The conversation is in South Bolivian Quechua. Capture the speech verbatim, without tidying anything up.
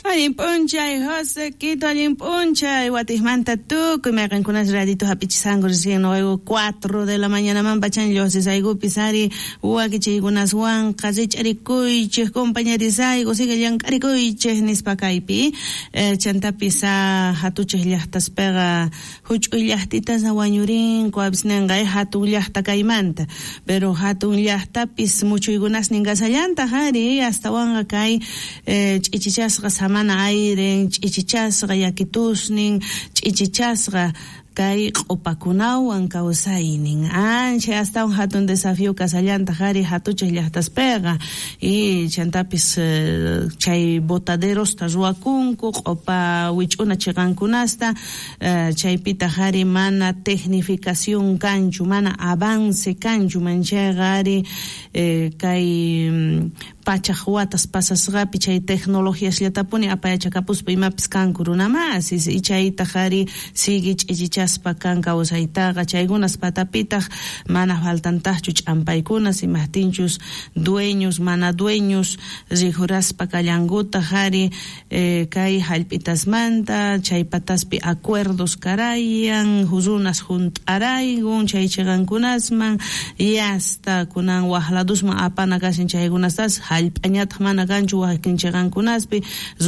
Allin p'unchay, José Quito, allin p'unchay. Watijmanta tukuy mayqinkunas radito hap'ichisanku recién noqayku cuatro de la mañanaman pachan lluqsisaykupis ari wakichiykunaswanqa rich'arikuychej compañerisayku sigue llank'arikuychej nispa kaypi eh, chantapis a hatuchej llaqtaspiqa huch'uy llaqtitas wañurinku apis ninqa eh, hatun llaqta kaymanta pero hatun llaqtapis muchuykunasnin kasallantaq ari astawanqa kay eh, ch'ichichasqa samana ayren ch'ichichasqa yakitusnin ch'ichichasqa kay q'upakunawan kawsaynin ancha astawan hatun desafío kasallantaq ari hatuchaq llaqtaspiqa y chantapis eh, chay botaderosta ruwakunku q'upa wich'una chiqankunasta eh, chaypitaq ari mana tecnificación kanchu mana avance kanchu manchayqa ari eh, kay mm, pachaj watas pasasqapi chay tecnologiasllatapuni apayachakapuspa imapis kanku runamasis y chaytaq ari sigue ch'ichichaspa kan kawsaytaqa chaykunas patapitaq mana faltantaqchu ch'ampaykunas imajtinchus dueños mana dueños rijuraspa kallankutaq ari eh, kay hallp'itasmanta chay pataspi acuerdos karayan runas junt'araykun chay chiqankunasman y hasta kunan waj ladusman apana kashan chaykunastas hallp'añataq mana kanchu wakin chiqankunaspi.